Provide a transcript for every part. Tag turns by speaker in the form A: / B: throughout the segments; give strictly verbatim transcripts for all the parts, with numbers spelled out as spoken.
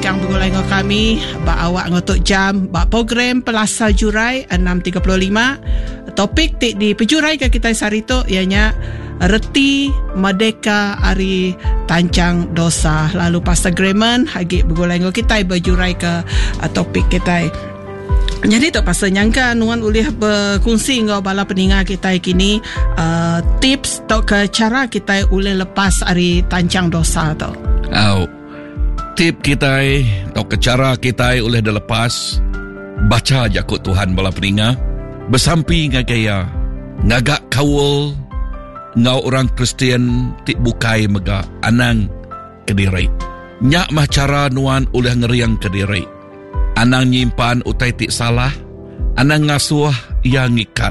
A: mengkang begulai ngau kami ba awak ngau tok jam ba program Pelasar Jurai enam tiga puluh lima. Topik ti dipejurai ke kita sehari tu ianya reti merdeka ari tancang dosa. Lalu Pastor Grayman agi begulai ngau kita berjurai ke topik kita. Jadi tu pasal nyangka nuan boleh berkongsi ngau bala peninga kita kini uh, tips atau ke cara kita boleh lepas ari tancang dosa tu.
B: Au. Tip kita atau ke cara kita boleh dilepas, baca jakut Tuhan bala peninga, bersampi ngagai ya, ngagak kaul ngau orang Kristian ti bukai mega anang kediri. Nyak mah cara nuan oleh ngeriang kediri. Anang nyimpan utai ti salah, anang ngasuh ia ngikat.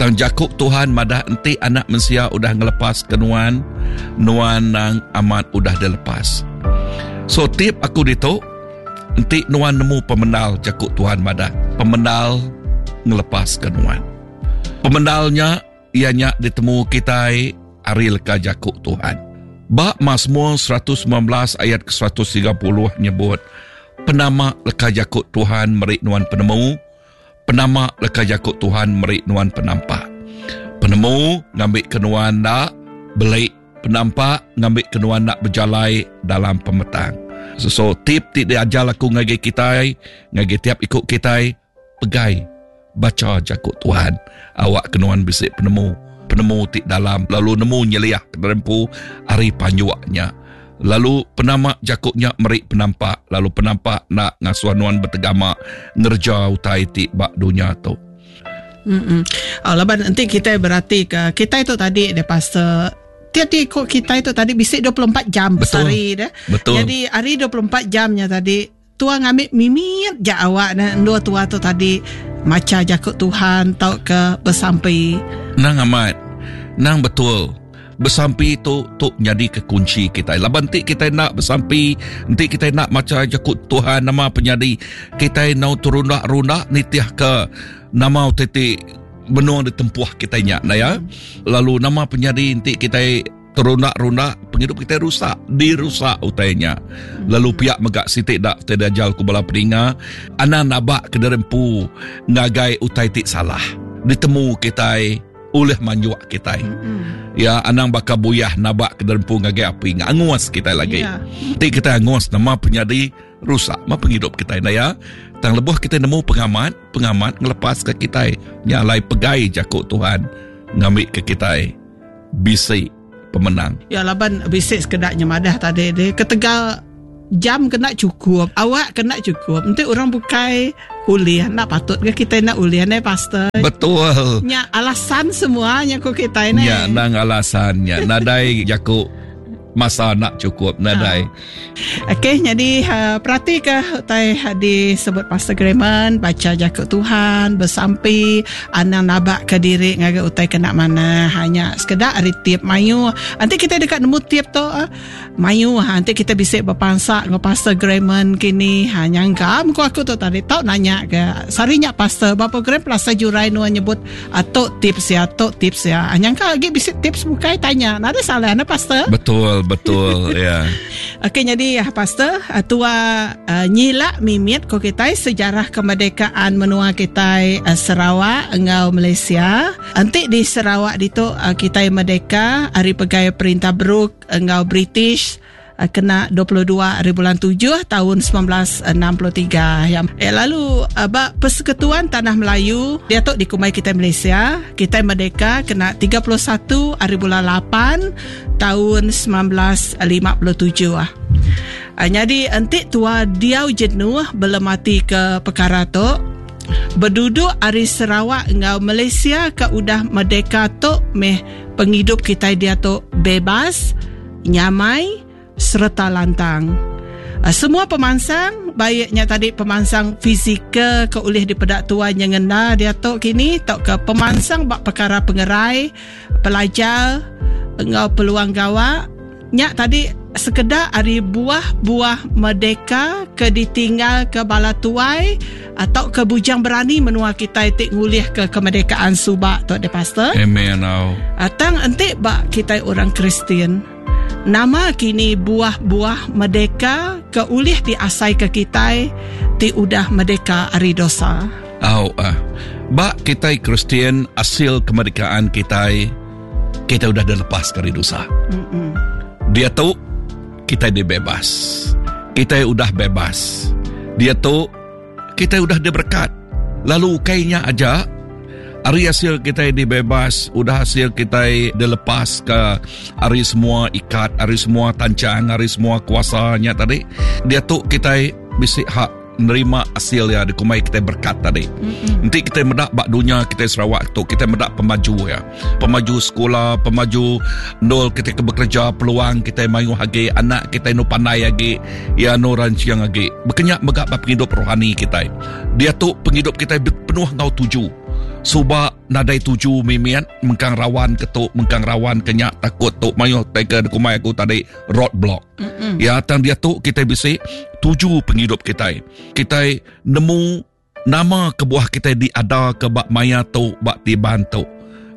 B: Tang jakuk Tuhan madah enti anak mensia udah ngelepas ke nuan, nuan nang amat udah dilepas. So tip aku ditu, enti nuan nemu pemendal jakuk Tuhan madah, pemendal ngelepas ke nuan. Pemendalnya ianya ditemu kitai ari leka jakuk Tuhan. Ba Mazmur seratus sembilan belas ayat ke seratus tiga puluh nyebut, penama leka jakuk Tuhan meri nuan penemu, penama leka jakuk Tuhan meri nuan penampak. Penemu ngambil ke nuan nak belik, penampak ngambil ke nuan nak berjalai dalam pemetang. So, so tip ti diajar aku ngagai kitai, ngagai tiap ikut kitai, pegai baca jakuk Tuhan. Awak ke nuan bisik penemu, penemu ti dalam, lalu nemu nyeliah ke ari panjuaknya. Lalu penama jakuknya meri penampak, lalu penampak nak ngasuh nuan bertegama ngerja utai ti bak dunia tu.
A: Mm-mm. Oh, laban nanti kita berarti ke kita itu tadi deh pastor tiap-tiap ikut kita itu tadi bisik dua puluh empat jam sehari deh.
B: Betul.
A: Jadi hari dua puluh empat jamnya tadi tua ngambil mimit jak awak dan dua tua tu tadi maca jakuk Tuhan tau ke bersampi.
B: Nang amat. Nang betul. Bersampi tu tu jadi ke kunci kita. Laban ti kita nak bersampi, nanti kita nak maca jakut Tuhan nama penyadi, kita nau turundak-rundak nitiah ke nama titik benua ditempuh kita nyak nah ya. Lalu nama penyadi nanti kita terundak-rundak penghidup kita rusak, dirusak utainya. Lalu pihak megak sitik dak terdajal ku bala peninga, anak nabak ke derempu ngagai utai tik salah. Ditemu kita oleh manjuak kita.
A: Mm-hmm.
B: Ya, anang bakal buyah nabak ke derempu ngagai api, ngangus kita lagi.
A: Yeah.
B: Tik kita angus nama penyadi rusak ma penghidup kita nah ya. Tang lebuh kita nemu pengamat, pengamat ngelepas ke kita nyalai pegai jakuk Tuhan ngambil ke kita bisi pemenang.
A: Ya laban bisi sekedaknya madah tadi dia ketegal jam kena cukup, awak kena cukup. Nanti orang bukai ulih nak patut ke kita nak ulih ne pastor.
B: Betul.
A: Nya alasan semuanya ku kita ne.
B: Ya nang alasannya nadai jakuk masa nak cukup nadai.
A: Ha. Okey, jadi uh, perhati ke utai disebut Pastor Grayman, baca jakuk Tuhan, bersampi, anang nabak ke diri ngagai utai kena mana, hanya sekedar ari tip mayu. Nanti kita dekat nemu tip tu uh, mayu, ha, nanti kita bisa berpansak dengan Pastor Grayman kini, ha nyangka muka aku tu tadi tau nanya ke sarinya pastor ba program Pelasar Jurai nuan nyebut atau tips ya, atau tips ya. Nyangka lagi bisa tips bukai tanya. Nada salah na pastor.
B: Betul. Betul, ya.
A: Okey, jadi ya pastor, tua uh, nyilak mimit ko kita sejarah kemerdekaan menua kita uh, Sarawak engau Malaysia. Nanti di Sarawak ditu uh, kita merdeka hari pegai perintah Brooke engau British uh, kena dua puluh dua hari bulan tujuh tahun sembilan belas enam puluh tiga. Ya. Eh, lalu uh, bak Persekutuan Tanah Melayu dia tu dikumai kita Malaysia, kita merdeka kena tiga puluh satu hari bulan lapan tahun sembilan belas lima puluh tujuh. Ah. Uh, jadi entik tua diau jenuh belum mati ke perkara tu. Berduduk ari Sarawak engau Malaysia ke udah merdeka tu meh penghidup kita dia tu bebas, nyamai serta lantang. Semua pemansang, baiknya tadi pemansang fizikal ke oleh dipedak tuan yang ngena dia tu kini atau ke pemansang bak perkara pengerai, pelajar engau peluang gawak. Nyak tadi sekedar ari buah-buah merdeka ke ditinggal ke bala tuai atau ke bujang berani menua kita tik ngulih ke kemerdekaan subak tu de pastor.
B: Amen.
A: Atang entik bak kita orang Kristian. Nama kini buah-buah merdeka ke ulih diasai ke kita ti udah merdeka ari dosa.
B: Au ah. Bak kita Kristian hasil kemerdekaan kita kita udah dilepas dari dosa. Mm-mm. Dia tu kita dibebas. Kita udah bebas. Dia tu kita udah diberkat. Lalu kayaknya aja hari hasil kita dibebas, udah hasil kita dilepas ke hari semua ikat, hari semua tancang, hari semua kuasanya tadi. Dia tu kita bisik hak nerima hasil ya dikumai kita berkat tadi. Mm-hmm. Nanti kita medak bak dunia kita Sarawak tu, kita medak pemaju ya. Pemaju sekolah, pemaju nol kita ke bekerja, peluang kita mayu hagi, anak kita nu pandai hagi, ya nu rancang hagi. Berkenyak megak bak penghidup rohani kita. Dia tu penghidup kita penuh ngau tuju. Suba nadai tuju mimian mengkang rawan ketuk mengkang rawan kenyak takut tok mayu teka kumai aku tadi roadblock. Mm-mm. Ya tang dia tu kita bisi tuju penghidup kita. Kita nemu nama kebuah kita diada ke bak maya tu bak tiban tu.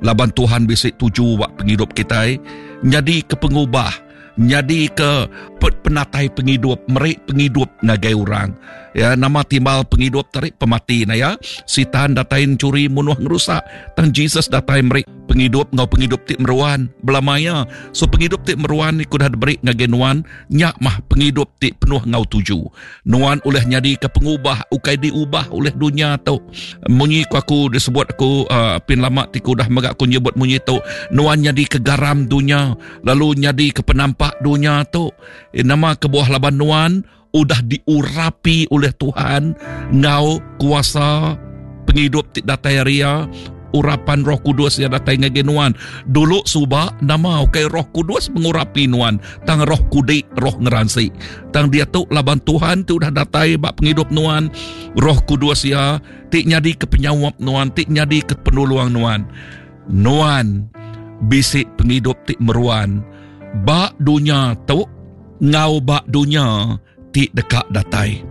B: Laban Tuhan bisi tuju bak penghidup kita jadi ke pengubah, jadi ke penatai penghidup, merik penghidup ngagai orang. Ya, nama timbal penghidup tarik pemati na ya. Sitan datai curi munuh ngerusak. Tang Jesus datai merik penghidup ngau penghidup ti meruan belamaya. So penghidup ti meruan ni kudah diberi ngagai nuan, nyak mah penghidup ti penuh ngau tuju. Nuan oleh nyadi ke pengubah, ukai diubah oleh dunia tu. Munyi ku aku disebut aku uh, pin lama ti kudah megak aku nyebut munyi tu. Nuan nyadi ke garam dunia, lalu nyadi ke penampak dunia tu. Eh, nama kebuah laban nuan udah diurapi oleh Tuhan ngau kuasa penghidup ti datai ria urapan Roh Kudus yang datai ngagai nuan. Dulu suba nama ukai Roh Kudus mengurapi nuan, tang roh kudik, roh ngeransi. Tang dia tu laban Tuhan tu udah datai bak penghidup nuan, Roh Kudus ya ti nyadi ke penyawap nuan, ti nyadi ke penolong nuan. Nuan bisik penghidup ti meruan bak dunia tu ngau bak dunia ti dekat datai.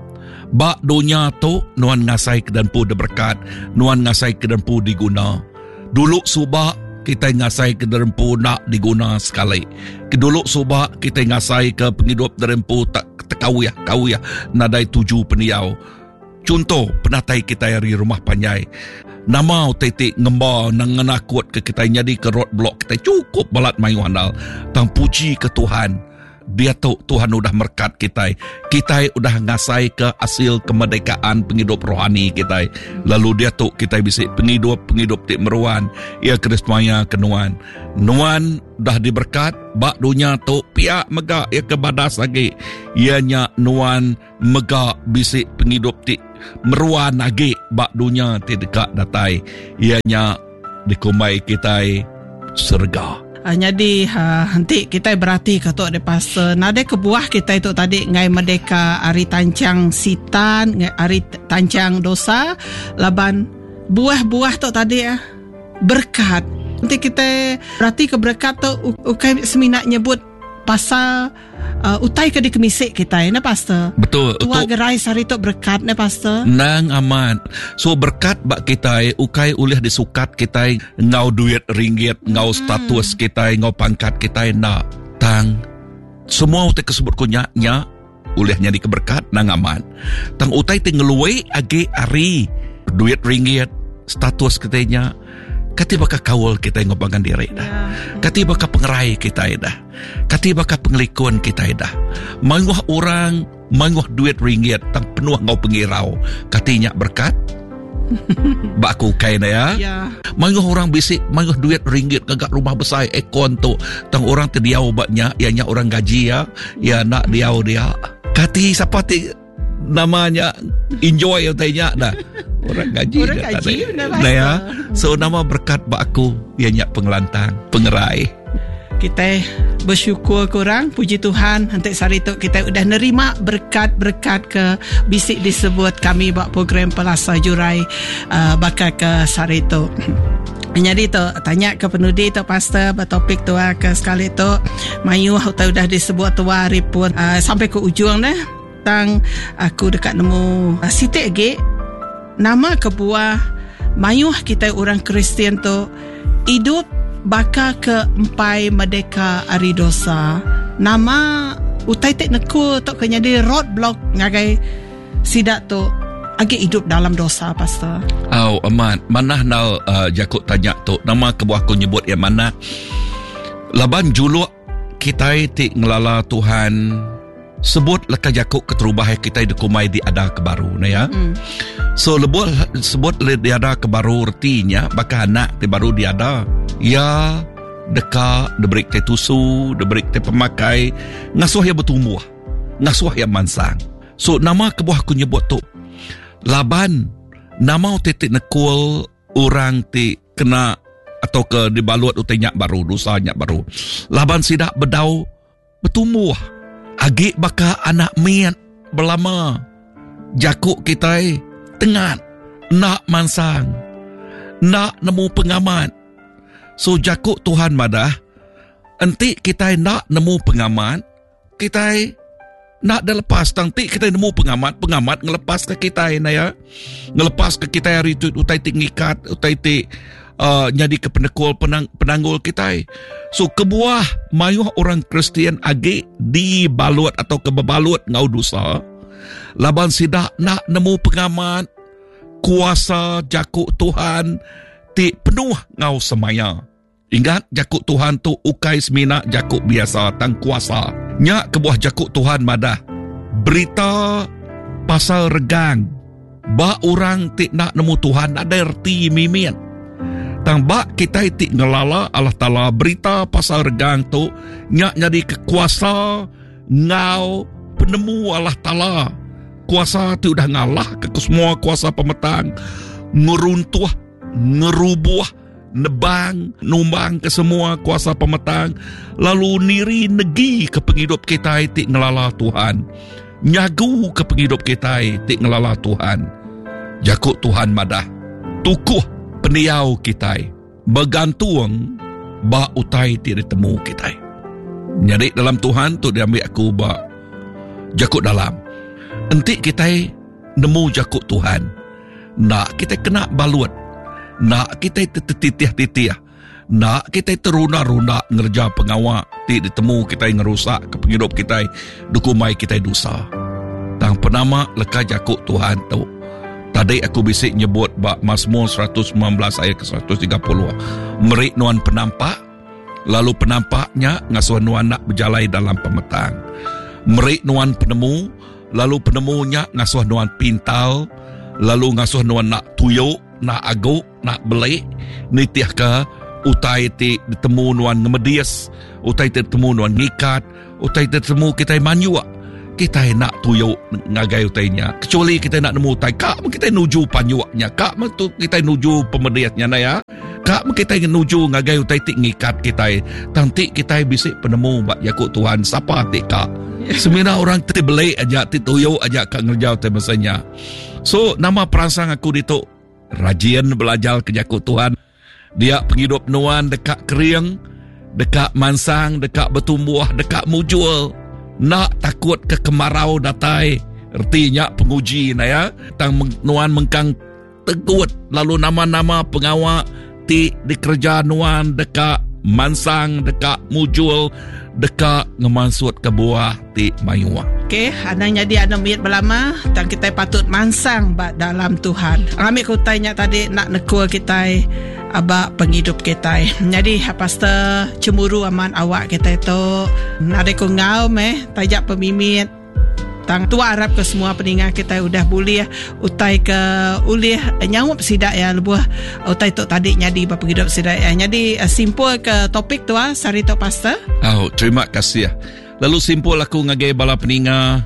B: Bak dunia tu nuan ngasai ke dempu diberkat, nuan ngasai ke dempu diguna. Dulu suba kita ngasai ke dempu nak diguna sekali. Dulu suba kita ngasai ke penghidup dempu tak tekawiyah kawiyah nadai tuju peniau. Contoh penatai kita dari rumah panjai. Nama titik ngemba nang ngenakut ke kita jadi ke roadblock kita cukup balat mayu andal. Tang puji ke Tuhan. Dia tu Tuhan udah merkat kita. Kita udah ngasai ke hasil kemerdekaan penghidup rohani kita. Lalu dia tu kita bisa penghidup-penghidup ti meruan. Ia Krismaya ke nuan. Nuan dah diberkat bak dunia tu pihak megak ia ke badas lagi. Ianya nuan megak bisik penghidup ti meruan lagi bak dunia ti dekat datai. Ianya dikumbai kita serga.
A: Uh, jadi uh, nanti kita berarti ke tok de pasal nade kebuah kita itu tadi ngai merdeka ari tancang sitan ngai ari tancang dosa laban buah-buah tok tadi ah berkat. Nanti kita berarti ke berkat tu ukai seminak nyebut pasal uh, utai ke dikemisik kita ne pastor.
B: Betul.
A: Tua gerai sari tu berkat ne pastor.
B: Nang aman. So berkat bak kita ukai ulih disukat kita ngau duit ringgit, ngau hmm. status kita, ngau pangkat kita nak. Tang semua utai kesebut kunya nya ulih nyadi keberkat nang aman. Tang utai ti ngeluai age ari duit ringgit, status kita nya kati baka kawal kita ngobangan diri dah. Ya. Kati baka pengerai kita dah. Kati baka pengelikun kita dah. Manguh orang, manguh duit ringgit tang penuh ngau pengirau. Katinya berkat. Bak aku kai dah ya.
A: Ya.
B: Manguh orang bisik, manguh duit ringgit gagak rumah besar aircon tu. Tang orang terdiau baknya, ianya orang gaji ya. Ya nak diau dia. Kati siapa ti namanya enjoy utainya dah. Orang gaji
A: orang gaji
B: nah, ya. So nama berkat bak aku ianya pengelantang, pengerai.
A: Kita bersyukur kurang puji Tuhan nanti sehari tu kita udah nerima berkat-berkat ke bisik disebut kami buat program Pelasa Jurai uh, bakal ke sehari tu. Jadi tu tanya ke penudi tu pastor bertopik tu ke sekali tu mayu udah udah disebut tua hari pun uh, sampai ke ujung dah. Tang aku dekat nemu uh, sitik lagi nama kebuah mayuh kita orang Kristian tu hidup baka ke empai merdeka ari dosa. Nama utai ti nekul tu ke nyadi roadblock ngagai sidak tu agi hidup dalam dosa, Pastor?
B: Oh, amat. Manah nal uh, jakut tanya tu. Nama kebuah aku nyebut yang mana? Laban juluk kita ti ngelala Tuhan sebut leka jakut keterubah kita dikumai di ada ke baru na ya. Mm. So lebuh sebut di ada ke baru ertinya bakal anak ti baru diada. Ya deka diberi te tusu, diberi te pemakai, ngasuh ia bertumbuh, ngasuh ia mansang. So nama kebuah aku nyebut tu laban nama titik nekul orang ti kena atau ke dibalut utai nyak baru, dosa nyak baru. Laban sidak bedau bertumbuh. Agi baka anak miat belama. Jakuk kitai tengat nak mansang, nak nemu pengamat. So jakuk Tuhan madah, enti kitai nak nemu pengamat, kitai nak dah lepas. Tang ti kita nemu pengamat, pengamat ngelepas ke kitai na ya. Ngelepas ke kitai hari tu utai ti ngikat, utai ti uh, jadi ke penekul penang, penanggul kitai. So kebuah mayuh orang Kristian agi dibalut atau kebebalut ngau dosa, laban sidak nak nemu pengamat kuasa jakuk Tuhan ti penuh ngau semaya. Ingat jakuk Tuhan tu ukai semina jakuk biasa tang kuasa. Nyak kebuah jakuk Tuhan madah berita pasal regang ba orang ti nak nemu Tuhan ada erti mimit. Tang ba kita ti ngelala Allah Taala berita pasal regang tu nyak jadi kekuasa ngau penemu Allah Taala. Kuasa ti udah ngalah ke semua kuasa pemetang, ngeruntuh, ngerubuh, nebang, numbang ke semua kuasa pemetang, lalu niri negi ke penghidup kita ti ngelala Tuhan. Nyagu ke penghidup kita ti ngelala Tuhan. Jakuk Tuhan madah, tukuh peniau kita bergantung ba utai ti ditemu kita. Jadi dalam Tuhan tu diambil aku ba jakuk dalam. Enti kita nemu jakuk Tuhan, nak kita kena balut, nak kita tertitih-titih, nak kita terunda-runda ngerja pengawak ti ditemu kita ngerusak ke penghidup kita, dukumai kita dosa. Tang penama leka jakuk Tuhan tu. Tadi aku bisik nyebut bak Mazmur seratus sembilan belas ayat ke seratus tiga puluh. Merik nuan penampak, lalu penampaknya ngasuh nuan nak berjalai dalam pemetang. Merik nuan penemu, lalu penemunya ngasuh nuan pintal, lalu ngasuh nuan nak tuyuk, nak aguk, nak belik, nitih ke utai ti ditemu nuan ngemedis, utai ti ditemu nuan ngikat, utai ti ditemu kita manyuk. Kita nak tuyuk ngagai utainya. Kecuali kita nak nemu utai, kak kita nuju panyuknya, kak tu kita nuju pemediatnya na ya. Kak kita nuju ngagai utai ti ngikat kita. Tanti kita bisik penemu bak jakuk Tuhan sapa ti kak. Semina orang ti belik aja, ti tuyuk aja kak ngerja utai masanya. So nama perangsang aku ditu rajin belajar ke jakuk Tuhan. Dia penghidup nuan dekat kering, dekat mansang, dekat bertumbuh, dekat mujul. Nak takut ke kemarau datai, ertinya penguji na ya. Tang nuan mengkang tegut lalu nama-nama pengawak ti dikerja nuan dekat mansang, dekat mujul, dekat ngemansut ke buah ti mayuah.
A: Okey, anang jadi anang miat belama, tang kita patut mansang ba dalam Tuhan. Ambil kutainya tadi nak nekul kita abak penghidup kita. Jadi pastor cemburu aman awak kita itu. Ada ku ngau meh tajak pemimit. Tang tua harap ke semua peningat kita udah boleh utai ke ulih nyaup sidak ya lebuh utai tu tadi nyadi ba penghidup sidak ya. Jadi simpul ke topik tua sari tu pastor.
B: Oh, terima kasih. Lalu simpul aku ngagai bala peninga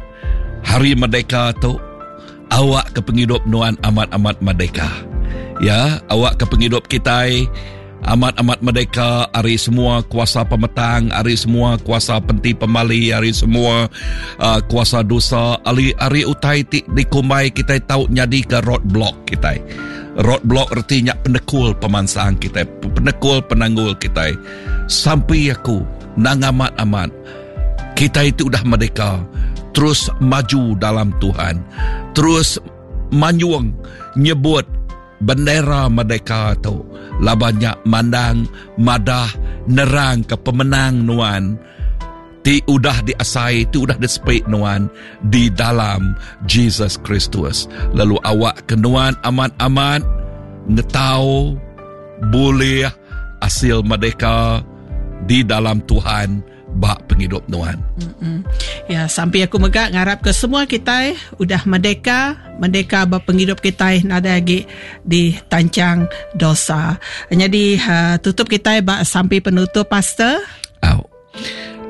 B: hari merdeka tu awak ke penghidup nuan amat-amat merdeka. Ya, awak ke penghidup kita amat-amat merdeka hari semua kuasa pemetang, hari semua kuasa penti pemali, hari semua uh, kuasa dosa, hari, hari utai ti dikumbai kita tahu nyadi ke roadblock kita. Roadblock artinya penekul pemansang kita, penekul penanggul kita. Sampai aku nang amat-amat kita itu udah merdeka, terus maju dalam Tuhan, terus manyuang nyebut bendera merdeka tu labannya mandang madah nerang ke pemenang nuan Ti udah diasai, ti udah disepik nuan di dalam Jesus Kristus. Lalu awak ke nuan amat-amat ngetau boleh hasil merdeka di dalam Tuhan bak penghidup nuan.
A: Mm-mm. Ya, sampai aku megak ngarap ke semua kita udah merdeka, merdeka ba penghidup kita nada lagi ditancang dosa. Jadi uh, tutup kita bak sampai penutup pastor.
B: Au.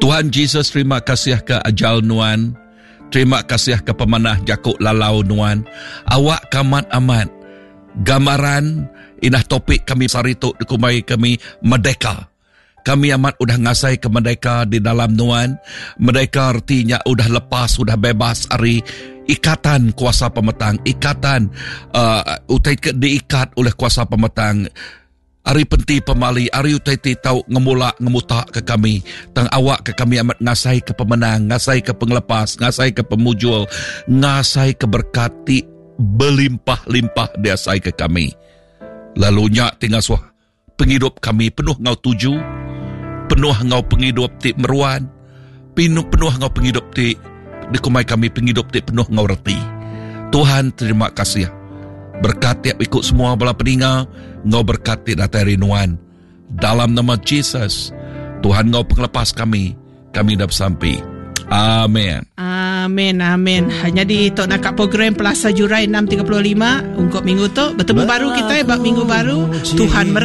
B: Tuhan Jesus, terima kasih ke ajal nuan. Terima kasih ke pemanah jakuk lalau nuan. Awak kamat amat. Gambaran inah topik kami sari tu dikumai kami merdeka. Kami amat udah ngasai ke merdeka di dalam nuan. Merdeka artinya udah lepas, udah bebas ari ikatan kuasa pemetang, ikatan uh, utai ke diikat oleh kuasa pemetang. Ari penti pemali, ari utai ti tau ngemula ngemuta ke kami. Tang awak ke kami amat ngasai ke pemenang, ngasai ke penglepas, ngasai ke pemujul, ngasai ke berkat ti berlimpah-limpah diasai ke kami. Lalu nyak tinggal suah penghidup kami penuh ngau tuju, penuh ngau penghidup ti meruan, penuh, penuh ngau penghidup ti dikumai kami penghidup ti penuh ngau reti. Tuhan terima kasih. Berkat tiap ikut semua bala peninga, ngau berkat ti datai rinuan. Dalam nama Jesus, Tuhan ngau penglepas kami, kami dah bersampi. Amin.
A: Amin, amin. Jadi tok nak program Pelasa Jurai enam tiga puluh lima untuk minggu tu. Bertemu baru kita bab minggu baru. Tuhan